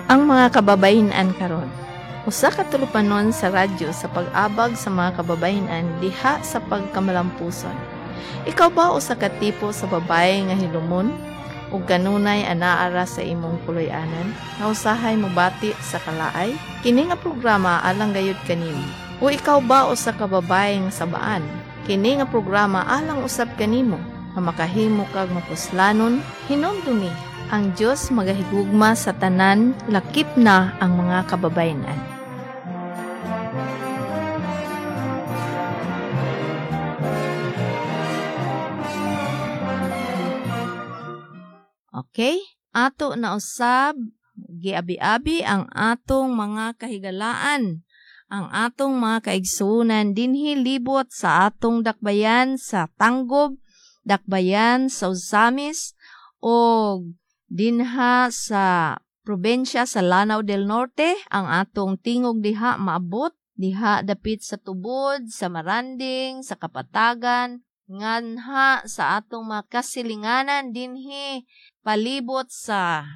Ang mga kababayen-an karon. Usa ka tulupanon sa radyo sa pag-abag sa mga kababayen-an diha sa pagkamalampuson. Ikaw ba usa ka tipo sa babaye nga hilumon ug kanunay anaa ra sa imong puloy-anan nga usahay mobati sa kalaay? Kini nga programa alang gayud kanimo. O ikaw ba usa ka babaye nga sabaan? Kini nga programa alang usab kanimo nga makahimo kag mapuslanon. Hinumdumi, ang Dios magahigugma sa tanan, lakip na ang mga kababayen-an. Okay? Ato na usab giabi-abi ang atong mga kahigalaan, ang atong mga kaigsuonan dinhi libot sa atong dakbayan sa Tanggob, dakbayan sa Ozamiz, og dinha sa probensya sa Lanao del Norte. Ang atong tingog diha maabot diha dapit sa Tubod, sa Maranding, sa Kapatagan, nganha sa atong mga kasilinganan dinhi palibot sa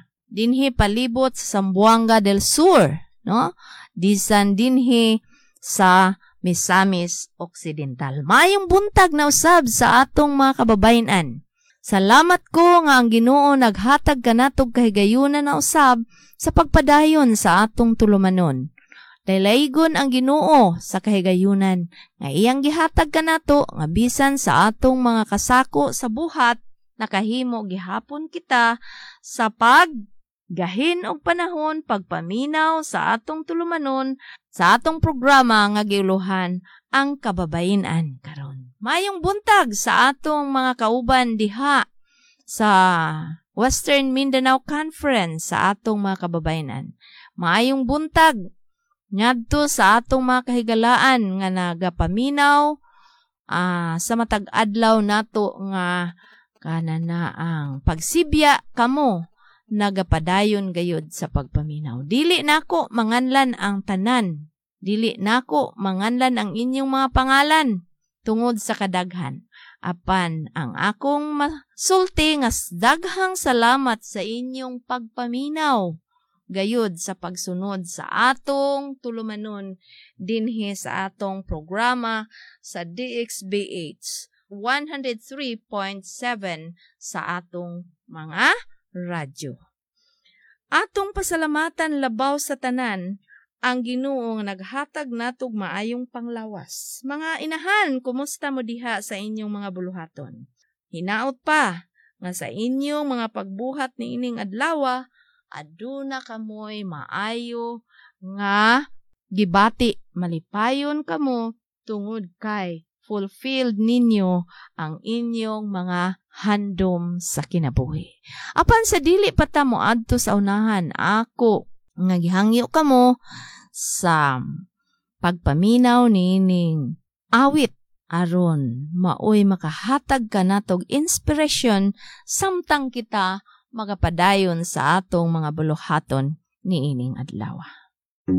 Zamboanga del Sur, no? Disan dinhi sa Misamis Occidental. Maayong buntag na usab sa atong mga kababayen-an. Salamat ko nga ang Ginoo naghatag kanatog kahigayunan na usab sa pagpadayon sa atong tulumanon. Laylaygon ang Ginoo sa kahigayunan nga iyang gihatag kanato nga bisan sa atong mga kasako sa buhat, nakahimo gihapon kita sa paggahin og panahon pagpaminaw sa atong tulumanon sa atong programa nga giuluhan ang kababayen-an karon. Maayong buntag sa atong mga kauban diha sa Western Mindanao Conference sa atong mga kababayenan. Maayong buntag ngadto sa atong mga kahigalaan nga nagapaminaw sa matag adlaw nato nga kanana ang pagsibya kamo nagapadayon gayud sa pagpaminaw. Dili nako manganlan ang tanan. Dili nako manganlan ang inyong mga pangalan tungod sa kadaghan. Apan ang akong masulti nga daghang salamat sa inyong pagpaminaw gayud sa pagsunod sa atong tulumanon dinhi sa atong programa sa DXBH 103.7 sa atong mga radyo. Atong pasalamatan labaw sa tanan ang Ginoo nga naghatag natog maayong panglawas. Mga inahan, kumusta mo diha sa inyong mga buluhaton? Hinaot pa nga sa inyong mga pagbuhat niining adlawa, aduna kamoy maayo nga gibati, malipayon kamo tungod kay fulfilled ninyo ang inyong mga handom sa kinabuhi. Apan sa dili pa ta moadto sa unahan, ako nga gihangyo kamo sa pagpaminaw niining awit aron maoy makahatag kanatog inspiration samtang kita magapadayon sa atong mga buluhaton niining adlaw.